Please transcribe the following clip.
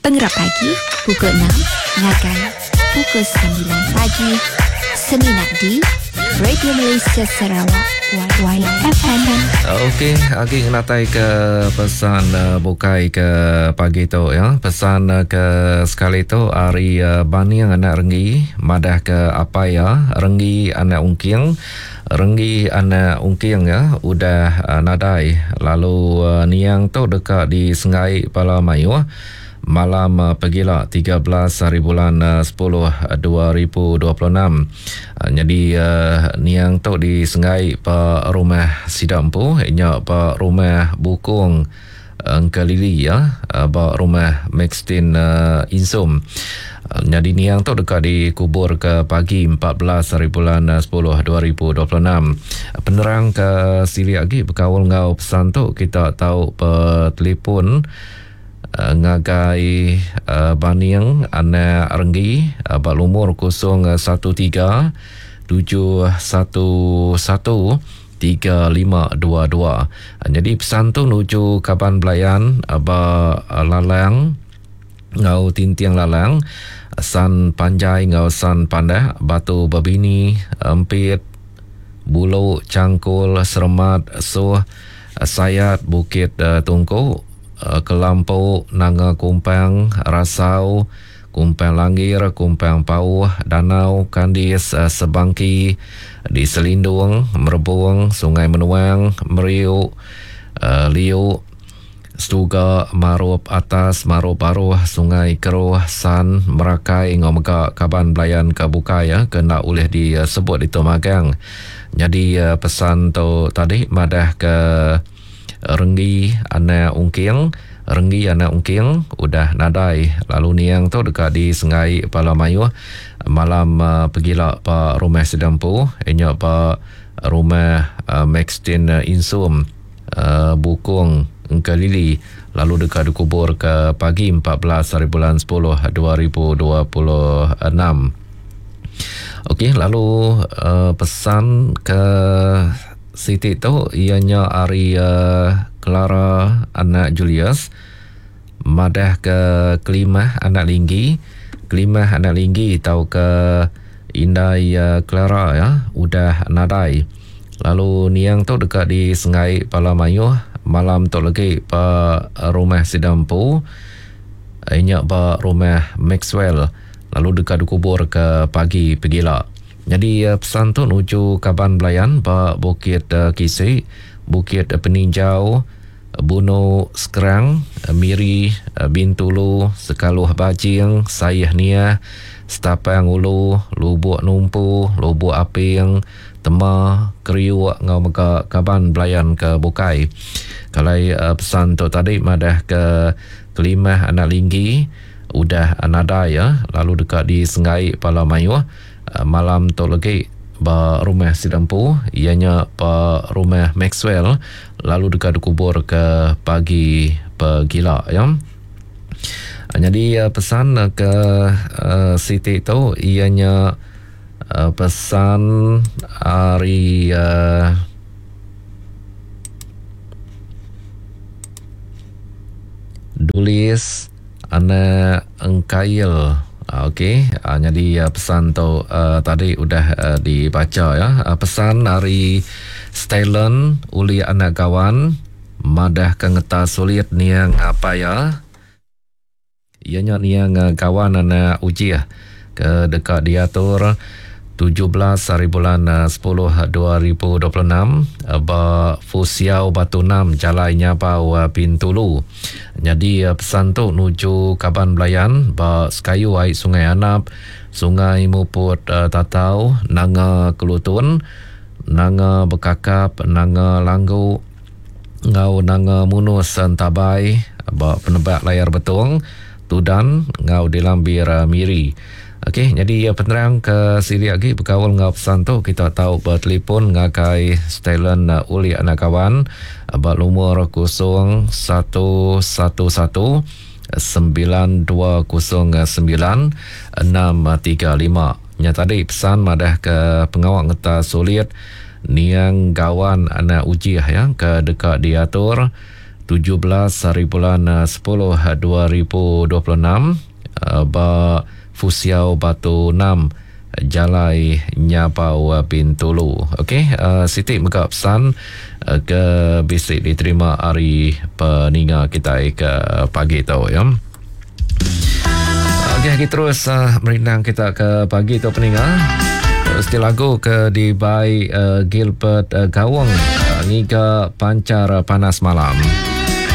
Pengerap pagi pukul 6 ngagai pukul 9 pagi semina di Radio Malaysia Sarawak YFM. Okey, agi ngenatai ke pesan uh, bukai ke pagi tu ya. Pesan uh, ke sekali tu ari uh, Baning anak Renggi madah ke apai ya Renggi anak Ungking. Renggi anak Ungking ya udah uh, nadai lalu uh, niang tu deka disenggai bala mayuh malam uh, pegila 13 hari bulan uh, 10 2026. Uh, nyadi uh, niang tu disenggai pa rumah sida empu nya pa rumah Bukong Engkelili ya ba rumah Maxtin Insum. Nyadi niang tu deka dikubur ke pagi 14 hari bulan 10 2026. Penerang ke silik agi bekaul enggau pesan tu kita tau betelefon ngagai Baning anak Renggi ba lumur 013 711 3522. Nyadi pesan tu nuju kaban belayan ba Lalang enggau Tinting Lalang, San Panjai enggau San Pandak, Batu Bebini, Empit, Bulu, Changkul, Seremat, Suh, Sayat, Bukit Tungku, Kelampu, Nanga Kumpang, Rasau, Kumpang Langgir, Kumpang Pauh, Danau, Kandis, Sebangki, di Selindung, Merebung, Sungai Menuang, Meriu, Liu, Setuga, Marup Atas, Marup Baruh, Sungai Keruh, San, Merakai enggau mega kaban belayan ke bukai ke enda ulih disebut ditu magang. Nyadi pesan tu tadi madahka Renggi anak Ungking, Renggi anak Ungking udah nadai lalu niang tu deka disenggai bala mayuh malam pegila ba rumah sida empu iya nya ba rumah Maxtin Insum Bukong Engkelili lalu deka dikubur ke pagi 14 hari bulan 10 2026. Okey lalu pesan ke Siti tu iya nya ari Clara anak Julius madah ke Kelimah anak Linggi, Kelimah anak Linggi tauka indai Clara iya udah nadai. Lalu niang tu deka disenggai bala mayuh malam tu legi ba rumah sida empu iya nya ba rumah Maxwell lalu deka dikubur ke pagi pegila. Nyadi pesan tu nuju kaban belayan ba Bukit Kisi, Bukit Peninjau, Bunu Skrang, Miri, Bintulu, Sekaluh Bajing, Saih Niah, Setapang Ulu, Lubuk Numpu, Lubuk Aping, Tema, Kriuk enggau mega kaban belayan ke bukai. Kalai pesan tu tadi madah ke Kelimah anak Linggi udah nadai lalu deka disenggai bala mayuh. Malam tu legi ba rumah sida empu iya nya ba rumah Maxwell lalu deka dikubur ke pagi pegila ya. Nyadi pesan ke siti tu iya nya pesan ari Dulis Anak Engkail. Okey, nyadi pesan tu tadi udah dibacha ya. Pesan ari Stylen uli anak Gawan madah ke ngeta sulit niang apai iya. Iya nya niang Gawan anak Ujih ke deka diatur 17 hari bulan 10 2026 ba Fusiau Batu 6 Jalai Nyabau Bintulu. Nyadi pesan tu nuju kaban belayan ba sekayu ai Sungai Anap, Sungai Muput Tatau, Nanga Kelutun, Nanga Bekakap, Nanga Langgu enggau Nanga Munus Entabai ba Penebak Layar Betong, Tudan enggau Dilambir Miri. Okey, nyadi penerang ke silik agi bekaul enggau pesan tu kita tau betelefon ngagai Stylen Ulik Anak Kawan ba lumur 0111 9209 635. Nya tadi pesan madah ke pengawa ngeta sulit niang Gawan anak Ujih ya ke deka diatur. 17 hari bulan 10 2026 ba Fusiau Batu 6 Jalai Nyabau Bintulu. Okey, siti mega pesan ke bisi diterima ari peninga kitai ke pagi tu ya. Okey, kita terus merindang kita ke pagi tu peninga. Siti lagu ke dibai Gilbert Gawong ngiga pancar panas malam.